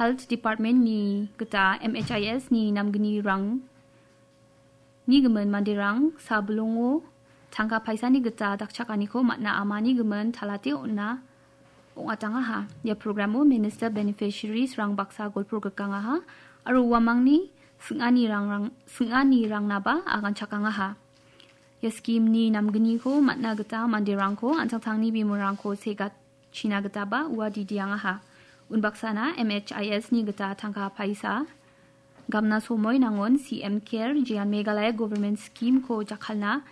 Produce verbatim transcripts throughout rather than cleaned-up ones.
Health Department-ni gita M H I S-ni namgnirang ni gimin manderang sabilongo tangka paisani gita dakchakaniko man·a amani gimin talate on·a ong·atangaha. Ia programo minister beneficiaries-rang baksa golpo grikangaha aro uamangni sing·anirangrang-, sing·anirangnaba aganchakangaha. Ia scheme-ni namgniko man·a gita manderangko an·tangtangni bimorangko segatchina gitaba ua didiangaha. Unbaksana M H I S-ni gita tangka paisa gamna somoi nangon C M Care jean Meghalaya Government Scheme-ko jakkalna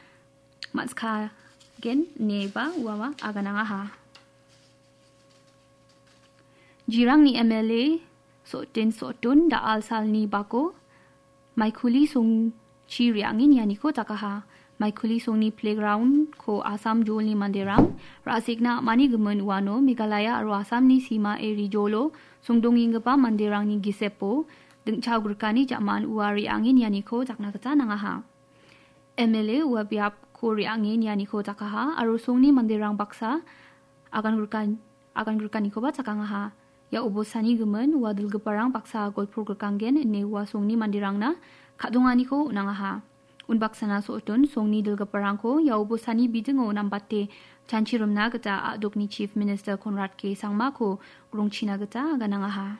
man·skagen ineba uawa aganangaha. Jirangni M L A Sotin Sotun da·al salni bako maikuli songchi re·angen ianiko dakaha. Maikuli songni playground-ko Assam jolni manderang ra·sekna am·ani gimin uano Meghalaya aro Assamni sima eri jolo songdongenggipa manderangni gisepo dingchao grikani ja·man ua re·angen ianiko dakna gita nangaha. M L A ua biapko re·ange nianiko dakaha aro songni manderang baksa agan grikan-, agan grikanikoba chakangaha. Ia obosani gimin ua dilgiparang baksa golpo grikanggen ine ua songni manderangna ka·donganiko on·angaha. Unbaksana Sotun songni dilgiparangko ia obosani bidingo nambate chanchi rimna gita a·dokni Chief Minister Conrad K Sangmako grongchina gita aganangaha.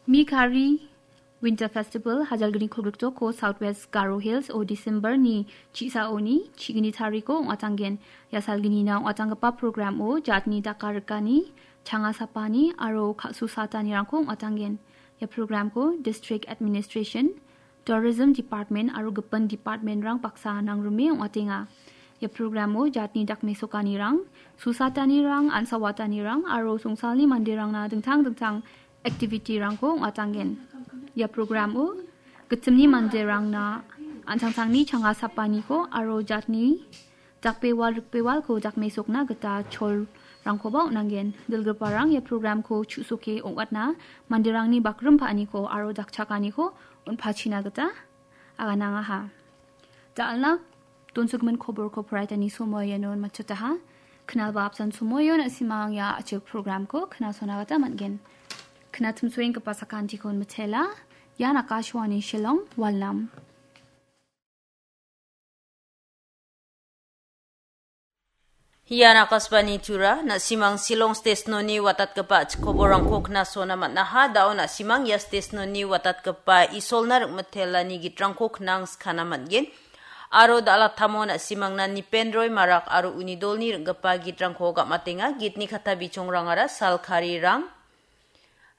Mikari Winter Festival hajalgni kolgrikjoko South West Garo Hills o December-ni chisaoni chigni tariko ong·atanggen. Ia salgnina ong·atanggipa program-o jatni dakarikani, changa sapani aro ka·su satanirangko ong·atanggen. Ia program-ko District Administration, Tourism Department aro gipin department-rang baksa nangrime ong·atenga. Ia programo jatni dakmesokanirang, susatanirang, an·sawatanirang aro songsalni manderangna dingtang dingtang activity-rangko ong·atanggen. Ia programo gittimni manderangna an·tangtangni changa sapaniko aro jatni dakbewal rikbewalko dakmesokna gita cholrangkoba on·angen. Dilgiparang ia programko chu·soke ong·atna manderangni bakrim pa·aniko aro dakchakaniko on·pachina gita aganangaha. Da·alna donsogimin koborko poraitani somoion matchotaha. Knalba apsan somoion na·simang ia a·chik programko knasona gita man·gen. Knatimsoenggipa sakantikon mitela, ian Akashvani Shillong, Walnam. Ian Akashvani Tura, na·simang Shillong station-oni watatgipa a·chik koborrangko knasona man·aha. Da·o na·simang ia station-oni watatgipa Isolna ring·mitelani gitrangko knang skana man·gen. Aro da·alattamo na·simangna Nipen Roy Marak aro uni dolni ring·gipa gitrangko gam·atenga. Gitni katta bichongrangara salkarirang,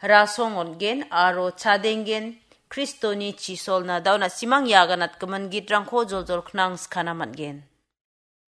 rasong on·gen aro chadenggen, Kristoni chisolna. Da·o na·simang ia aganatgimin gitrangko joljol knang skana man·gen.